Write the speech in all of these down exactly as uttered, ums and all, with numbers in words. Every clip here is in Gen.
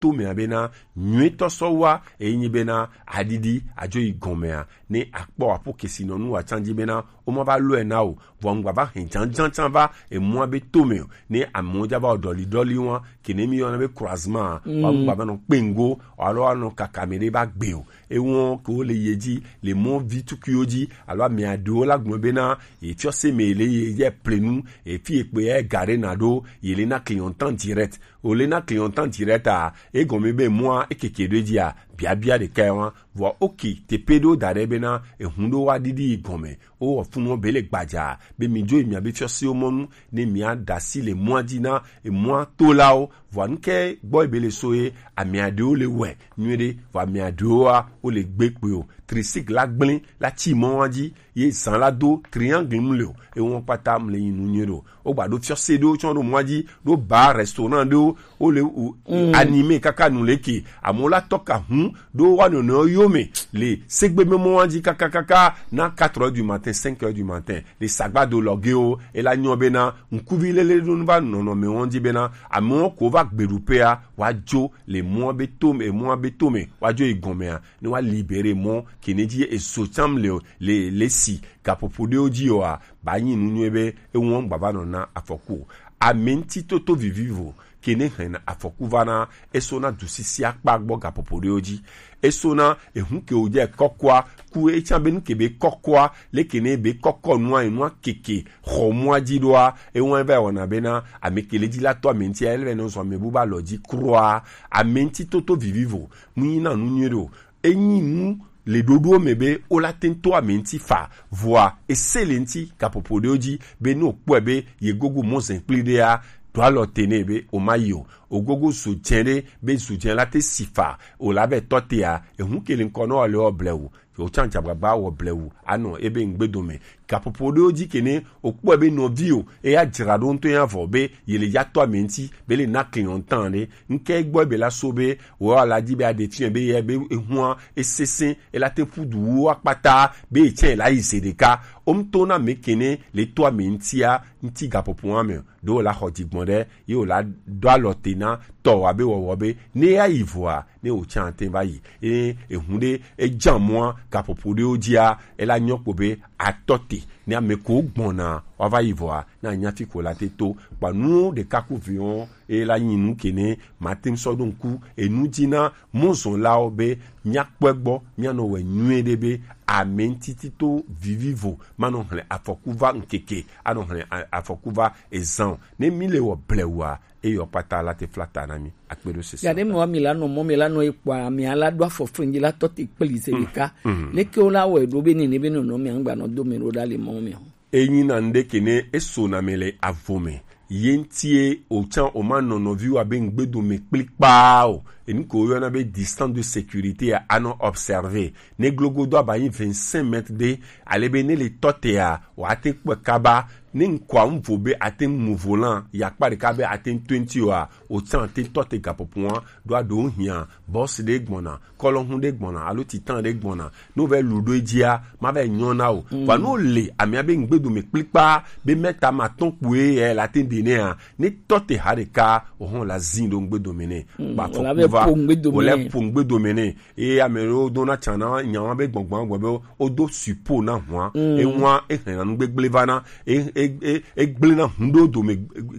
to mea bena nyuitɔ sɔ wa, eyi nyi bena adidi adzo yi gɔmea, ne akpɔ apo kesinɔnu wa can ji bena o ma va lɔe na o, vɔ ŋgba va hɛn janjan can va emua be to me o, ne amewo ja va o dɔli dɔli wa, ke ne mi yɔna be croisement, wa ŋgba va nɔ kpengo, alo wa nɔ kaka me ɖe va gbe o. Ewɔn ke wo le ye ji, le mɔ vi tukuiwo ji, alo ame aɖewo la gblɔ bena, ye fiɔ se me le ye, ye plenu, e fi ekpe ye gare na ɖo, ye le na client en direct. O le na client en direct a, egɔme be mɔa ekeke ɖo edzi a, biabia ɖeka ye wa. Vɔ oke, tepe ɖewo da ɖe bena, ehun ɖewo wa ɖiɖi yi gɔme. O wɔ funu be le gbaja, be mi dzo yi mia be fiɔsewo mɔnu, ne mia ɖasi le mɔa ji na, emɔa tolawo. Vɔ nuke gbɔ be le so ye, ame aɖewo le wɛ nyuie ɖe, vɔ ame aɖewo a, wo le gbe kpe o. Tricycle la gblẽ la tsi mɔ wa ji, ye zan la do triangle mu le o, ewɔn kpata mu le yin nu nyuie ɖo. O gba ɖo fiɔse ɖewo tsɔ ɖo mɔa ji, ɖo bar, restaurant ɖewo, o le u- animé kaka nu le ke, amewo la tɔ ka hun ɖo wa nɔnɔ yo me le segbe me mɔ wa ji kaka kaka na quatre heures du matin, cinq heures du matin, le sagba do lɔgewo, e la nyɔ bena ŋkuvi lele ɖo nu va nɔnɔ me wɔn ji bena amewo ko va gbeɖuƒea wa dzo le mɔa be to me, mɔa be to me wa dzo yi gɔmea, ne wa libérer mɔ ke ne ji ezo tsam le, le, le si gaƒoƒo ɖewo ji oa, ba nyi nu nyuie be ewɔn gbava nɔ na afɔku o. Ame ŋutitoto vivivo ke ne hɛn afɔku va na, eso na dusisi akpa gbɔ gaƒoƒo ɖewo ji. Eso na ehun ke wo je kɔkɔa, ku e tsa be nu ke be kɔkɔa, le ke ne be kɔkɔ nua, enua keke xɔ mɔa ji ɖoa, ewɔn va wɔna bena ame ke le ji la tɔ ame ŋuti, ele nɔ zɔ ame bu ba lɔ ji kroa. Ame ŋutitoto vivivo, mu nyi na nu nyuie ɖo. Enyi nu le ɖoɖowo me be o la te ŋu to ame ŋuti fa, vɔa ese le ŋuti gaƒoƒo ɖewo ji be ne o kpɔe be ye gogo mɔ zɛnkpli ɖea, ɖo alɔ te nɛ be o ma yi o. O gogo zu dze ɖe be zu dze la te si fa, o la be tɔ tea, ehun ke le ŋkɔ nɔ le wɔ blewu, o tsan dzagbagba wɔ blewu anɔ ebe ŋgbe dome. Gaƒoƒo ɖewo ji ke ne o kpɔe be nɔvi o, eya dzra ɖo ŋutɔ ya vɔ be ye le ya tɔ ame ŋuti be le na client en temps ɖe. Ŋke gbɔ be la so be wɔ la ji be aɖe fiɛ be ye be ehua esese, e la te ƒu du wu akpata be etsɛ la yi ze ɖeka. O ŋutɔ na me ke ne le tɔ ame ŋutia ŋuti gaƒoƒoa me ɖo la xɔ dzigbɔn ɖe ye o la ɖo alɔ te na tɔ wa be wɔwɔ be ne ya yi vɔa, ne o tsan te va yi. E, ehun ɖe e jan mɔa gaƒoƒo ɖewo jia, e la nyɔ kpo be atɔ te. Ne ame ko gbɔna wa va yi vɔa, na nya fi ko la te to. Kpa nu ɖeka ku viwo, e la nyi nu ke ne ma te ŋu sɔ ɖo ŋku enu ji na mɔzɔnlawo be mia kpɔe gbɔ, mia nɔ wɛ nyuie ɖe be ame ŋutitoto vivivo ma nɔ hlɛ afɔku va ŋkeke, anɔ hlɛ a- afɔku va ezan o. Ne mi le wɔ blewua, eyɔ kpata la te fla ta na mi. Akpe ɖo sese. Ya ɖe mɔ mi la nɔ mɔ mi la nɔ ekpɔa mi ala ɖo afɔ frinji la tɔ te kpli ze ɖeka. Leke wo la wɔ eɖo be nene be nɔnɔ mi angba nɔ do mi ɖo ɖa le mɔ mi o. Enyi na ŋɖe ke ne eso na me le avo me. Ye ŋtie o tsan o ma nɔ nɔvi wa be ŋgbedo me kplikpaa o. Enu ko yɔna be distance de sécurité a anɔ observer. Ne glogodo aba nyi vingt-cinq mètres de, ale be ne le tɔ te a, wa te kpɔe kaba. Ne ŋkɔa ŋvo be ate ŋu mu volan, ya kpa ɖeka be ate ŋu to eŋuti oa, o tsan te tɔ te gaƒoƒoa, ɖo aɖo hiã, bɔs ɖe gbɔna, kɔlɔhun ɖe gbɔna, alo titan ɖe gbɔna. Ne o vɛ lu ɖo edzia, ma vɛ nyɔ na o. Vɔ ne o le amia be ŋgbedo me kplikpa, be mɛta ma tɔn kpoe yɛ la te ɖe nɛa, ne tɔ te ha ɖeka, o hɔn la zin ɖo ŋgbedo me nɛ. Gba fɔ kuva, o lɛ po ŋgbedo me nɛ. Eye ame ɖewo dona tsan na nya wa be gbɔngbɔn gbɔ be o do supo na hua. Ehua ehlena nu gbegble va na, e e e egble na hun ɖo dome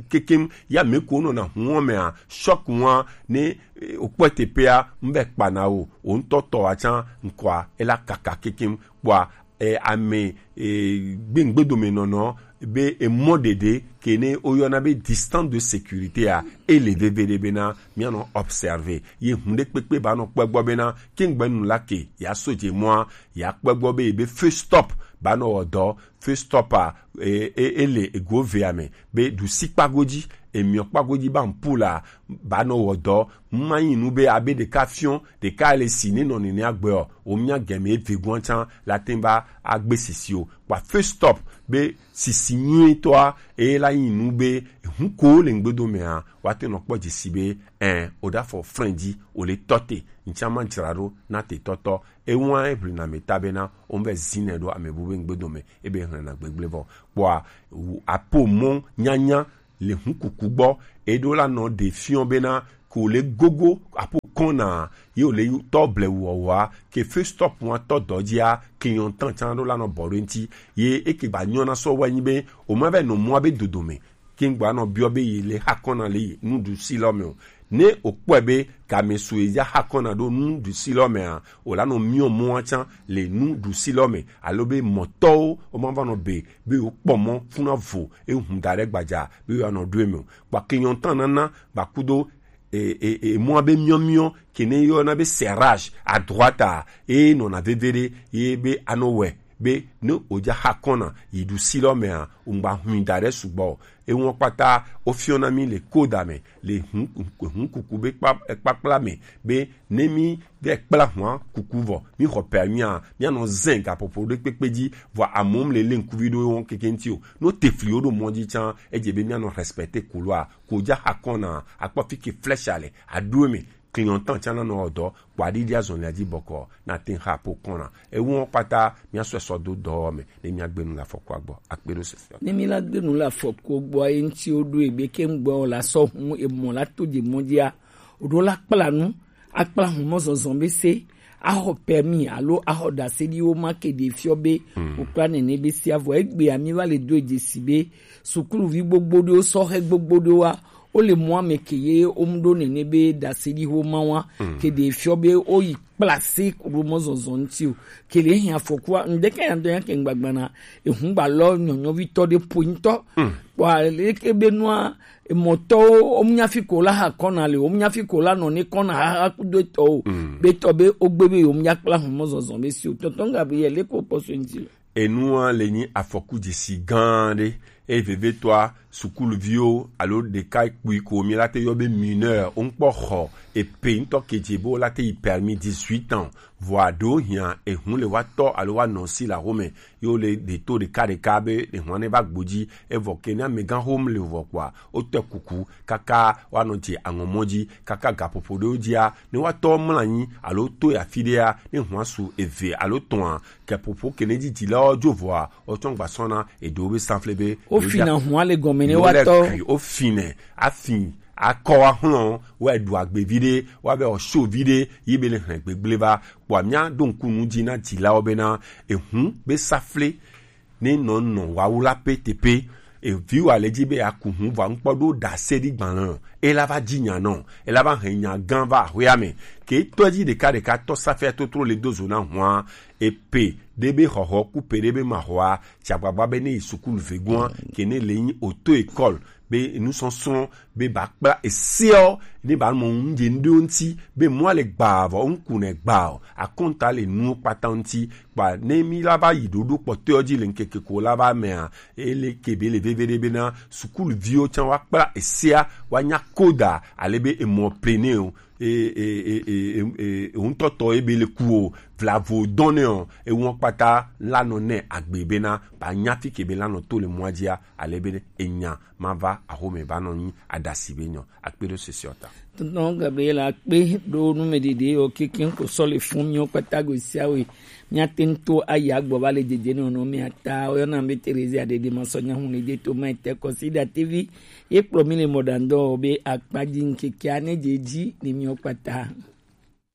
kekem. Ya me ko nɔ na hun mea, choc hua ne o kpɔ teƒea, ŋbɛ kpa na o, o ŋutɔ tɔ wa tsan ŋkɔa ela kaka kekem kpɔa. E, ame e, gbengbedomenɔnɔ be emɔ ɖeɖe ke ne woyɔna be distance de sécurité a, ele veve ɖe bena mianɔ observer. Ye hun ɖe kpekpe ba nɔ kpɔ egbɔ bena kengbe nu la ke ya so dze mɔa, ya kpɔ egbɔ be ebe feu stop ba nɔ wɔ dɔ. Feu stop a, e, e, ele ego vea me be ɖusi kpago dzi, emiɔ kpago dzi ba ŋpu la ba nɔ wɔ dɔ. Manyi nu be abe ɖeka fiɔ ɖeka le si ne nɔ nene agbe o, o mia gɛme eve guan tsan la te va agbe sisi o. Kpa feu stop be sisi nyuitɔa e la nyi nu be hun ko le ŋgbedo mea, wa te nɔ kpɔ dzesi be ɛ o da fɔ frein dzi o le tɔ te. Ŋtsa ma dzra ɖo na te tɔtɔ. Ewa e ʋli na me ta bena o vɛ zinɛ ɖo ame bu be ŋgbedo me ebe hlɛna gbegble vɔ. Kpɔa apo mɔ nyanya le hun kuku gbɔ, eɖo la nɔ ɖe fiɔ bena ko le gogo apo kɔna ye o le tɔ ble wɔwa ke fe stop wa tɔ dɔjia client tan can ɖo la nɔ bɔ ɖo ŋti ye eke gba nyɔna sɔ wa nyi be o ma vɛ nɔ mɔ be dodo me ke ŋgba nɔ biɔ be yi le hakɔna le yi nuɖusi lɔ me o. Ne o kpɔe be game su yi ja hakɔna ɖo nuɖusi lɔ mea, o la nɔ miɔ mɔa can le nuɖusi lɔ me alo be mɔtɔwo o ma va nɔ be be o kpɔ mɔ funa vo e hun da ɖe gbadza be o ya nɔ ɖo eme o. Kpa client tan nana ba kudo e, e, e, mɔa be miɔmiɔ ke ne yɔna be serrage à droite a e nɔna veve ɖe ye be anɔ wɛ be ne o ja hakɔna yi ɖusi lɔ mea o ŋgba hui da ɖe sugbɔ o. Ewɔn kpata o fiɔna mi le koda me le hun, hun kuku be kpa, kpakpla me be ne mi vɛ kpla hua kuku vɔ mi xɔ permis a mi anɔ zɛn gaƒoƒo ɖe kpekpe dzi vɔ amewo le le ŋkuvi ɖo wɔn keke ŋti o. No te fli wo ɖo mɔ dzi can edze be mi anɔ respecter couloir ko ja hakɔna akpɔ fi ke flèche ale aɖo me client tan can nɔ dɔ kpɔ aɖiɖi azɔlia dzi bɔkɔ na te ha po kɔna. Ewɔn kpata mi asɔ sɔ do dɔ me ne mi agbe nu le afɔkua gbɔ akpe ɖo sese. Ne mi la gbe nu le afɔkua gbɔ ye ŋti wo ɖo egbe ke ŋgbɔ la sɔ hun emɔ la to dze mɔ dzia o ɖo la kpla nu akpla hun mɔ zɔzɔ be se axɔ permis alo axɔ ɖaseɖiwo ma ke ɖe fiɔ be o kpla nene be sia vɔ egbea mi va le do dzesi be sukuluvi gbogbo ɖewo sɔhe gbogbo ɖewoa wo le mɔa me ke ye wo mu ɖo nene be ɖaseɖiwo ma wa ke ɖe fiɔ be wo yi kpla se ɖo mɔ zɔzɔ ŋti o ke le hin afɔkua ŋdeke ya dɔ ya ke ŋgbagbana ehun gba lɔ nyɔnyɔvi tɔ ɖe po ŋtɔ kpɔ ale ke be nua emɔtɔwo wo mu nya fi ko la ha kɔna le wo mu nya fi ko la nɔ ne kɔna ha ha kudo etɔwo be tɔ be wo gbe be wo mu nya kpla hun mɔ zɔzɔ be si o tɔntɔn Gabriel le ko pɔsɔ ŋti le. Enua le nyi afɔku dzesi gã ɖe eye vevetɔa sukuluviwo alo ɖeka kpui ko mi la te yɔ be mineur wo ŋkpɔ xɔ epe ŋtɔ kedze be wo la te yi permis dix-huit ans vɔa ɖewo hiã ehun le wa tɔ alo wa nɔ si la home yo le ɖe to ɖeka ɖeka be ehun ne va gbodzi evɔ ke ne amegã hom le vɔ kpɔa wo tɛ kuku kaka wa nɔ dze aŋɔmɔ dzi kaka gaƒoƒo ɖewo dzia ne wa tɔ mla anyi alo to ya fi ɖea ne hua su eve alo tɔa ke ƒoƒo ke ne dzidzilawo dzo vɔa wotsɔ gba sɔna eɖewo be sanfle be wo fina hua le gɔme ne wa tɔ o fine afi akɔ wa hlɔ wa ɖu agbevi ɖe wa be ɔso vi ɖe yi be le hlɛ gbegble va kpɔa mia ɖo ŋku nu dzi na dzilawo bena ehun be safle ne nɔ nɔ wawu la petepe eviwa le dzi be aku hun vɔ ŋkpɔ ɖo ɖase ɖi gbalẽ o ela va dzi nya nɔ ela va hɛn nya gã va ahoya me ke tɔ dzi ɖeka ɖeka tɔ safia totro le do zo na hua epe ɖe be xɔxɔ ku pe ɖe be ma xɔa tsi agbagba be ne yi sukulu vegoa ke ne le nyi auto école be nusɔsrɔ̃ be ba kpla eseɔ ne ba mɔ ŋdze ŋɖewo ŋti be mɔa le gbaa vɔ ŋku ne gbaa o akɔnta le nuwo kpata ŋti kpa ne mi la va yi ɖoɖo kpɔtɔeɔ dzi le ŋkeke ko la va mea ele ke be le veve ɖe bena sukuluviwo tsã wa kpla esea wa nya koda ale be emɔ pleneo e e e e e e ŋutɔtɔ ebe le ku o vlavo dɔn ne o ewɔn kpata lanɔ ne agbe bena ba nya fi ke be lanɔ to le mɔa dzia ale be enya ma va axome va nɔ nyi aɖasi be nyɔ akpe ɖo sese ɔta. Tɔntɔn Gabriel akpe ɖo nu me ɖeɖe o kekeŋ ko sɔ le fun miwo kpata go siawe miate ŋu to ayi agbɔ va le dzedze ne nɔ mia ta woyɔna be Terezia ɖeɖe ma sɔ nya hu ne de to ma ete kɔsi ɖa tevi ye kplɔ mi le mɔɖaŋdɔ be akpadzi ŋkekea ne dze dzi ne miwo kpata.